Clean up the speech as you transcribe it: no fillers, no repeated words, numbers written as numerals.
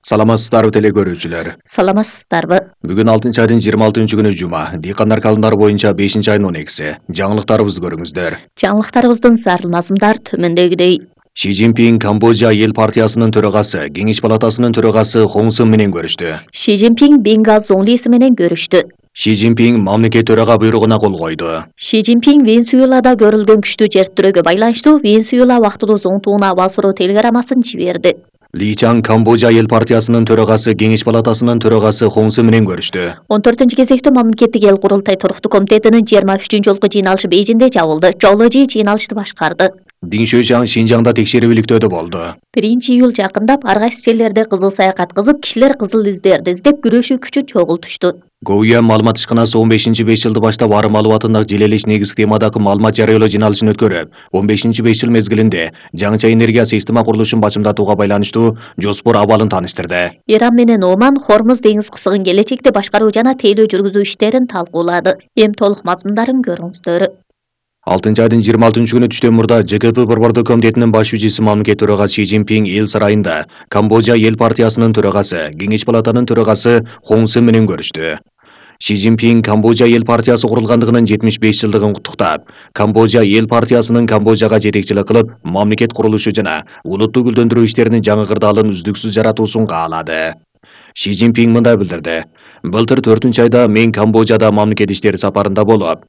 Саламатсыздарбы теле көрүүчүлөр. Саламатсыздарбы. Бүгүн 6-айдын 26-күнү жума. Дыйкандар калымдары боюнча 5-айдын 12-си. Жаңылыктарыбызды көрүңүздөр. Жаңылыктарыбыздын зарыл мазмундар төмөндөгүдөй. Ши Цзиньпин Камбожа эл партиясынын төрагасы, Кеңеш палатасынын төрагасы Хон Сен менен көрүштү. Ши Цзиньпин Бенга Зоңлиси менен көрүштү. Ши Цзиньпин мамлекет төрага буйругуна кол койду. Ши Цзиньпин Венесуэлада көрүлгөн күчтүү жер тирөөгө байланыштуу Венесуэла убактылуу зоңтууна абал суроо телеграммасын жиберди. Ли Чан Камбожа эл партиясынын төрагасы, Кеңеш палатасынын төрагасы Хон Сен менен көрүштү. 14-кезектүү мамлекеттик эл курултай туруктуу комитетинин 23 жолку жыйналышы Бейжиңде жабылды. Жооложи жыйналышты башкарды. Дин Шуйшан Шинжаңда текшерүүлүктөдө болду. 1-июль жакындап, ар кайсы жерлерде кызыл саякат кызып, кишилер кызыл издерди издеп күрөшүү күчү чогултушту. Гоуя маалымат ишканасы 15-5 баштап ары маалыматындагы желелеш негизги темадагы маалымат жарыялоо жыйналышын өткөрүп, 15-5 мезгилинде жаңыча энергия система курулушун бачымдатууга байланыштуу жоспор абалын тааныштырды. Иран менен Оман Хормуз деңиз кысыгын келечекте башкаруу жана тейлөө жүргүзүү иштерин талкуулады. Эми толук мазмундарын көрүңүздөр. 6-айдын 26-күнү түштөн мурда ЖКП Борбордук комитетинин башчысы мамлекет төрагасы Ши Цзиньпин эл сарайында Камбожа эл партиясынын төрагасы, Кеңеш палатанын төрагасы Хон Сен менен көрүштү. Ши Цзиньпин Камбожа эл партиясы курулгандыгынын 75 жылдыгын куттуктап, Камбожа эл партиясынын Камбожага жетекчилик кылып, мамлекет курулушу жана улутту гүлдөндүрүү иштеринин жаңы кырдаалын үздүксүз жаратуусун каалады. Ши Цзиньпин мындай билдирди: "Былтыр 4-айда мен Камбожада мамлекет иштери сапарында болуп,